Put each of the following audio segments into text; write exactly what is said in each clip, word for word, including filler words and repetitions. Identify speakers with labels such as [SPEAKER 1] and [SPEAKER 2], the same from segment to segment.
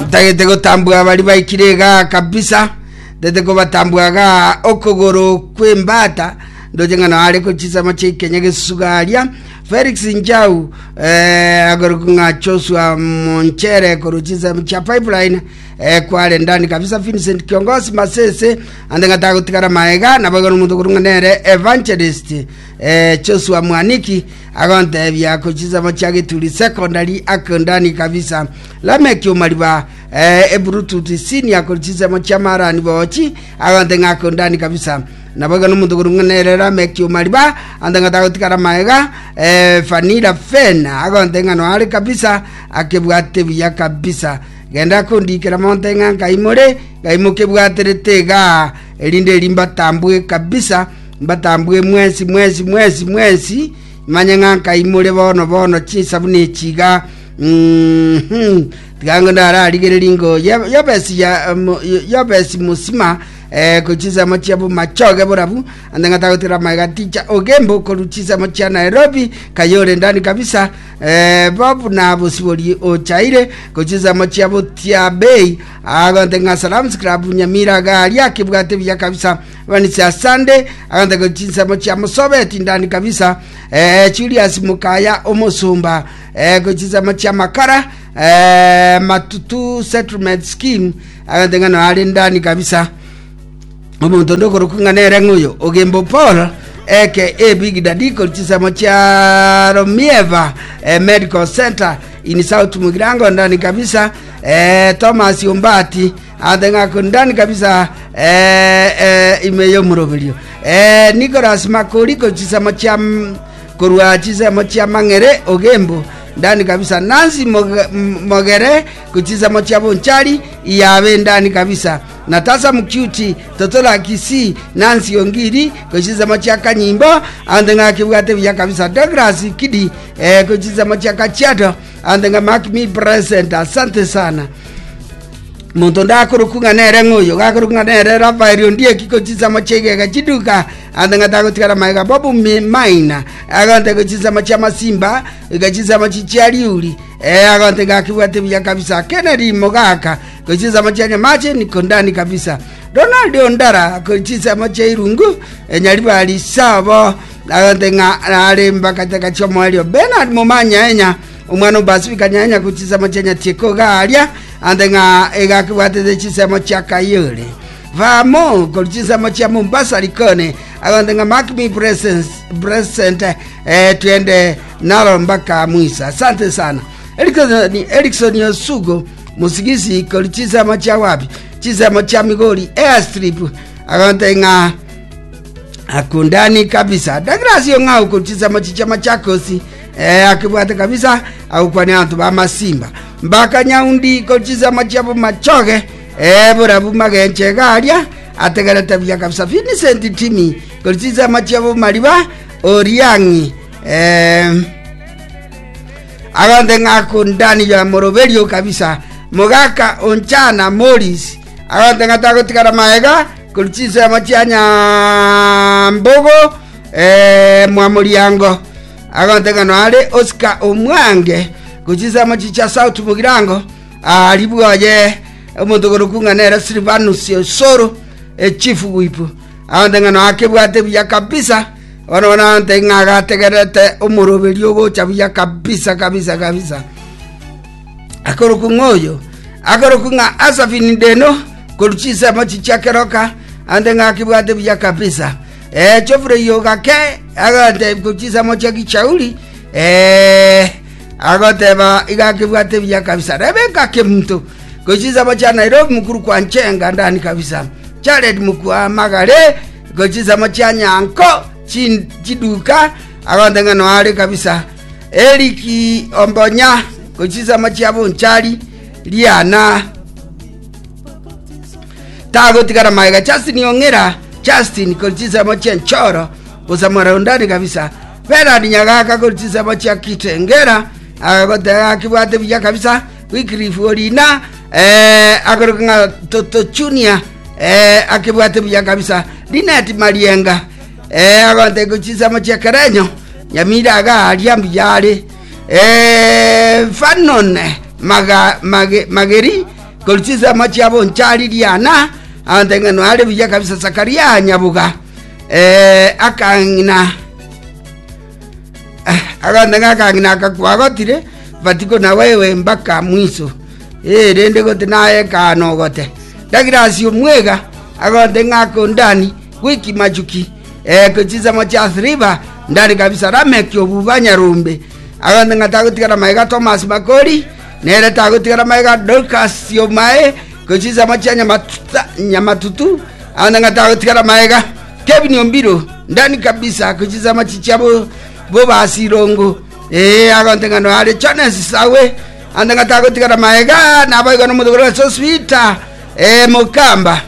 [SPEAKER 1] Ntagete gotambua bari baikire iga kabisa, ntagete kobatambua iga okogoro kw'embata, ndoche ng'a nare kochisama chiaikenya gesuga aria. Felix Njau eh, akorokwa ng'a Joshua Monchere korwa chinsemo chia Pipeline eh, kware ndani kabisa. Vincent Kiongosi Masese ande ng'a tagotigara maega, nabo igo nomonto okorwa ng'a nere Evangelist eh, Joshua Mwaniki agontebia kochinsemo chia Geturi Secondary ako ndani kabisa. Lameki Omariba eh, Ebluetooth Senior korwa chinsemo chia Marani Bochi agonte ng'a ako ndani kabisa. Nabo igo nomonto okorwa ng'a nere Lameki Omariba ande ng'a tagotigara maega. eh, Vanilla Fen agonte ng'a noare kabisa akebwate buya kabisa. Genda kondikera monte ng'a nkaimore ngai mokebwaterete igaa erinde eri mbatambue kabisa, mbatambue mwensi mwensi mwensi mwensi, manye ng'a nkaimore bono bono chisabuni echi iga. Mhm. Tiga ngo ndararigereria ngo Ye- Yobesi ya mo- Yobesi Musima eh, kochisemo chia Bomachoge borabu ande ng'a tagotira maega. Ticha Ogembo korwa chisemo chia Nairobi Kayore ndani kabisa. eh, Bob na Bosibori Ochaire kochisemo chia Botia Bay agonte ng'a Salams Club Nyamira garia akebwate buya kabisa. Vanisia Sunday agonte kochinsemo chia Mosobeti ndani kabisa. eh, Julius Mukaya Omusumba eh, kochinsemo chia Makara eh, Matutu Settlement Scheme agonte ng'a noare ndani kabisa. Omonto onde okorokwa ng'a nere ng'oyo Ogembo Paul eke Big Daddy korwa chinsemo chia Romieva eh, Medical Center in South Mugirango ndani kabisa. eh, Thomas Ombati ate ng'ako ndani kabisa eh, eh, ime y'omoroberio. eh, Nicholas Makori korwa chinsemo chia korwa chinsemo chia Mang'ere Ogembo ndani kabisa. Nancy Moge- M- Mogere kuchisemo chia Bonchari iyabe ndani kabisa. Natasa Mukyuti Totola Kisi Nancy Ongiri kuchisemo chia Kanyimbo ande ng'akibwate buya kabisa. Douglas Kidi eh, kuchisemo chia Kachiado ande ng'a mark me present, asante sana. Monto ndakoroku ng'a nere ng'oyo gakoroku ng'a nere Rafael Ondieki kochisamo chiegega chiduka ande ng'a tagotigara maega. Bobu Mi- Maina agonte kochisamo chia Masimba gachisamo chia Riuri eh, agonte gakibwate buya kabisa. Kennedy Mogaka kochisamo chia Nyamache niko ndani kabisa. Ronald Ondara kochisamo chia Irungu eh, Nyaribari sabo agonte ng'a are mbakataka chiomoerio. Bernard Momanya enya omwana obasibika nyanya kuchisemo chia Nyatieko garia ande ng'a egakibwatete chisemo chia Kayore vamo kori chisemo chia Mombasa Likoni agonte ng'a mark me presence present eh, twende nalo mpaka mwisa, asante sana. Erikson, Erikson Osugo Musigisi kori chisemo chia wapi chisemo chia Migori Airstrip agonte ng'a akundani kabisa. Douglas Ong'au kuchisemo chicha Machakos eh, akibwate kabisa agukwania abanto ba Masimba mbaka Nyaundi kochisemo chia Bomachoge eh, borabu magenche garia ategerete buya kabisa. Vincent Timi kochisemo chia Bomariba Oriang'i eh, agonte ng'akundani ya moroberio kabisa. Mogaka Onchana Morris agonte ng'a tagotigara maega korwa chinsemo chia Nyambogo eh, Mwamoriango agonte ng'a noare. Oscar Omwange gochinsemo chicha South Mugirango ari bwoye omonto korokwa ng'a nere Silvanus Osoro echief whip agonte ng'a noakebwate buya kabisa. Bono bono agonte ng'a agategerete omoroberio ogocha buya kabisa kabisa kabisa. Akorokwa ng'oyo akorokwa ng'a Asafini Deno korwa chinsemo chichia Keroka ande ng'a akibwate buya kabisa. eh, Geoffrey Ogake agote kochisemo chia Gichauri eh, agoteba iga akibwate buya kabisa. Rebeka Kemunto kochisemo chia Nairobi mukuru kwa Nchenga ndani kabisa. Jared Mukua Magare kochisemo chia Nyanko chin- chiduka agonte ng'a noare kabisa. Eriki Ombonya kochisemo chia Bonchari Riana tagotigara maega. Justin Ong'era Justin kochisemo chia Nchoro bosamora ndani kabisa. Bernard Nyagaka kochisemo chia Kitengera agoteba akibwate buya kabisa. Wycliffe Orina eh, akoroka ng'a Toto Junior eh, akibwate buya kabisa. Linet Marienga eh, agonte kochisemo chia Kerenyo Nyamira agaria mbuyare. Eh, Fanon maga, mage, Mageri koruchisa machiabo nchari riana agote are buya kabisa. Sakaria Nyabuga eh, akang'ina agote akang'ina akakwagotire batiko na wewe mpaka mwiso. Eh, rende gote naye kano gote Douglas Omwega agote ng'ako ndani wiki machuki eh, kuchiza macha river ndani kabisa. Ramek Obuba Nyarumbe agote ng'atagotigara maega. Thomas Makori nere tagotigara maega. Dorcas Yomae kuchiza macha nyamatuta nyamatutu agote ng'atagotigara maega. Kevin Ombiro ndani kabisa kuchiza machicha bo bo basirongo eh agote ng'ano are Jones Sawe ande ng'atagotigara maega nabaiga nomotogoro so sweet eh Mukamba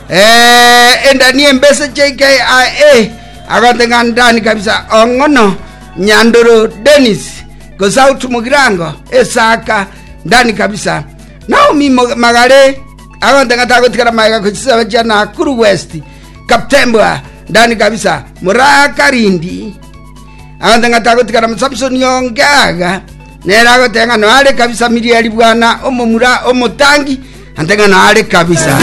[SPEAKER 1] eh endani embese J K I A agote ng'andani kabisa. Ong'ono Nyandoro Dennis Gosautu Mugirango Esaka ndani kabisa. Naomi Magare agote ng'atagotigara maega kuchisa bachia Nakuru West Kaptembwa ndani kabisa. Murakarindi agote ng'atagotigara. Samson Yongaga nera agote ng'ano are kabisa. Miriari bwana omomura omotangi ante ng'ano are kabisa.